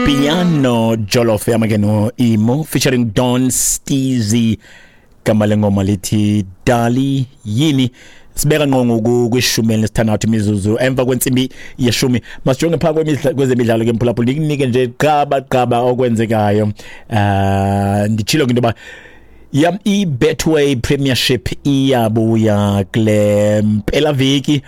Piano Jollof yama ke no Imo featuring Don Steezy, gama lengoma lithi Dali Yini. Sibeka ngqo ngoku kwishumi elinesithandathu imizuzu emva kwentsimbi yeshumi. Masijonge phaa kwezemidlalo ke, mphulaphula, ndikunike nje qaba qaba okwenzekayo. Nditshilo ke into yoba yam i-Betway Premiership iyabuya kule mpelaveki,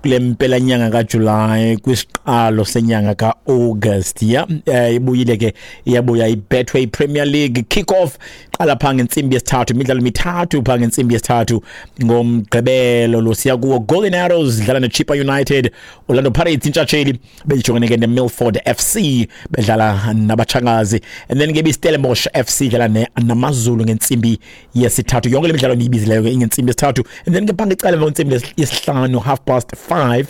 kule mpelanyanga kaJulayi kwisiqalo senyanga ka-August. Ya, ibuyile ke, iyabuya i-Betway Premier League. Kick off qala phaa ngentsimbi yesithathu, imidlalo mithathu phaa ngentsimbi yesithathu ngomgqibelo lo siya kuwo. Golden Arrows dlala neChippa United, Orlando Pirates intshatsheli bejongene ke neMilford FC bedlala nabatshangazi, and then ke iStellenbosch FC idlala naMazulu ngentsimbi yesithathu. Yonke le midlalo ndiyibizileyo ke ingentsimbi yesithathu. And then ke phaa ngecala emva kwentsimbi yesihlanu, 5:30,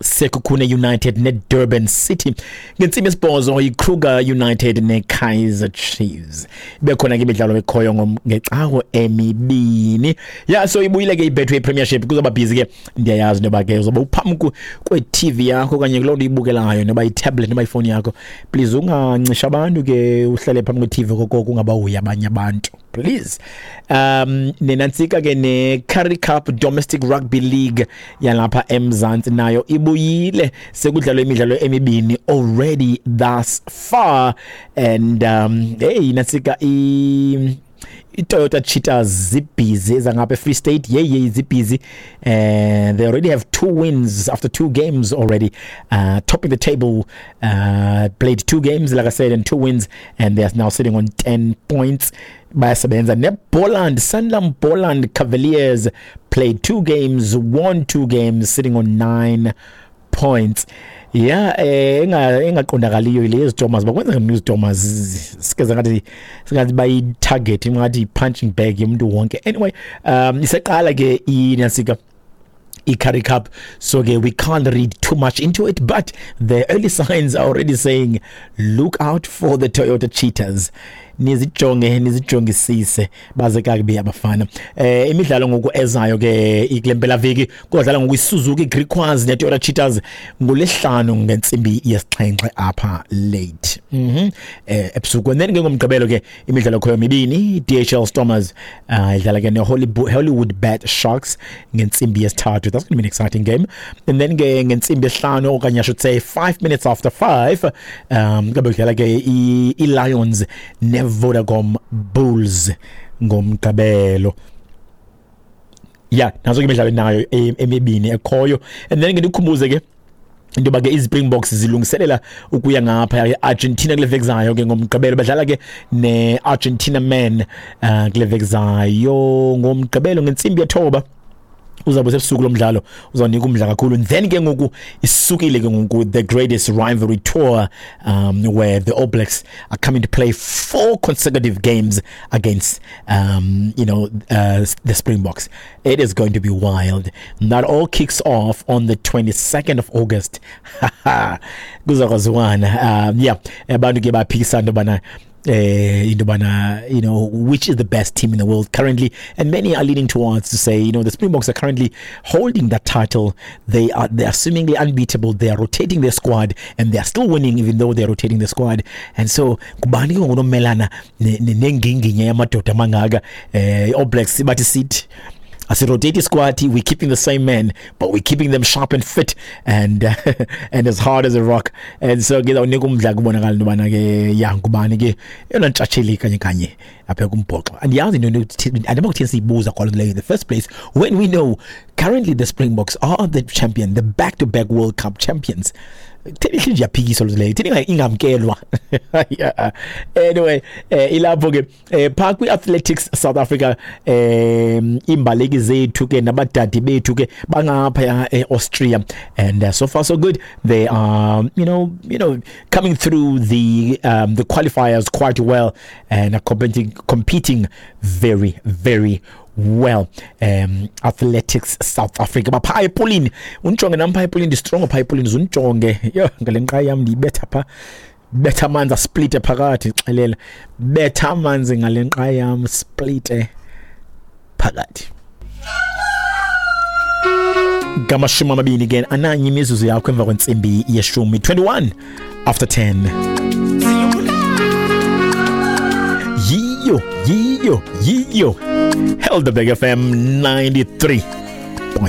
Sekhukhune United neDurban City. Ngentsimbi yesibhozo iKruger United neKaizer Chiefs. Bekhona ke imidlalo ekhoyo ngecawe emibini. Ya, so ibuyile ke iBetway Premiership, kuzoba busy ke. Ndiyayazi into yoba ke uzoba uphambi kwe-TV yakho okanye kuloo nto uyibukelayo, noba itablet noba ifowuni yakho. Please ungancisha abantu ke, uhlale phambi kwe-TV kokoko ungabahoyi abanye abantu, please. Nenantsika ke ne-Currie Cup Domestic Rugby League yalapha eMzantsi nayo ibuyile, sekudlalwe imidlalo emibini already thus far. And hey, nantsika iToyota Cheetahs zibhizi ezangapha eFree State. Yey yey, zibhizi, and they already have two wins after two games already, topping the table. Played two games, like I said, and two wins, and they are now sitting on 10 points. Bayasebenza. NeBoland, Sanlam Boland Cavaliers played two games, won two games, sitting on 9 points. Yeah, engaqondakaliyo ile yeZitomers, bakwenza ngani iZitomers? Sikeze ngathi bayi-target, ngathi i-punching bag yomuntu wonke. Anyway, iseqala ke inasika i-Currie Cup, so ke we can't read too much into it, but the early signs are already saying look out for the Toyota Cheetahs, nizijonge, nizijongisise, baze kakubi abafana. Imidlalo ngoku ezayo ke ikule mpelaveki, kodlala ngoku iSuzuki Griquas neToyota Cheetahs ngolesihlanu ngentsimbi yesixhenxe apha late, ebusuku. And then ke ngomgqibelo ke imidlalo khoyo mibini. DHL Stormers idlala ke neHollywood Bet Sharks ngentsimbi yesithathu. That's going to be an exciting game. And then ke ngentsimbi yesihlanu, okanye I should say 5:05, kabe kudlala ke i-Lions neVodacom Bulls ngomgqibelo. Ya, nazo ke imidlalo nayo emibini ekhoyo. And then ke ndikhumbuze ke into yoba ke iZispringboks zilungiselela ukuya ngapha e-Argentina kule veki zayo ke ngomgqibelo. Badlala ke ne-Argentina men kule veki zayo ngomgqibelo ngentsimbi yethoba. Uzawube sebusuku lo mdlalo, uzawunika umdla kakhulu. And then ke ngoku isukile ke ngoku the Greatest Rivalry Tour, where the All Blacks are coming to play four consecutive games against the Springboks. It is going to be wild. And that all kicks off on the 22nd of August. Kuzakwaziwana. Yeah, abantu ke baphikisana into yobana into yobana which is the best team in the world currently, and many are leaning towards to say the Springboks are currently holding that title. They are seemingly unbeatable. They are rotating their squad and they are still winning even though they're rotating the squad. And so kubani ke ngoku nomelana nenginginya yamadoda amangaka? All Blacks bathi sithi asirotate squad, we're keeping the same men, but we're keeping them sharp and fit and as hard as a rock. And so ke zawunika umdla kubonakala into yobana ke ya ngubani ke eyona ntshatsheli kanye kanye apha kumbhoxo. Andiyazi into andima kuthini siyibuza kwalo leyo in the first place when we know currently the Springboks are the champion, the back to back World Cup champions. Theni ihle nje iyaphikiswa leyo, theni ingamkelwa? Yeah. Anyway, ilapho ke. Phaa kwi-Athletics South Africa, iimbaleki zethu ke nabadadi bethu ke bangaphaya e-Austria, and so far so good. They are coming through the qualifiers quite well and are competing very, very well. Athletics South Africa baphaa epulini. Undijonge nam phaa epulini, ndistrongo phaa epulini. Zundijonge yho ngale nqa yam ndiyibetha phaa, betha amanzi asplite phakathi. Xelela, betha amanzi ngale nqa yam splite phakathi. Ngamashumi amabini ke ananye imizuzu yakho emva kwentsimbi yeshumi, 10:21. Yiyo, yiyo, yiyo. Helderberg FM 93.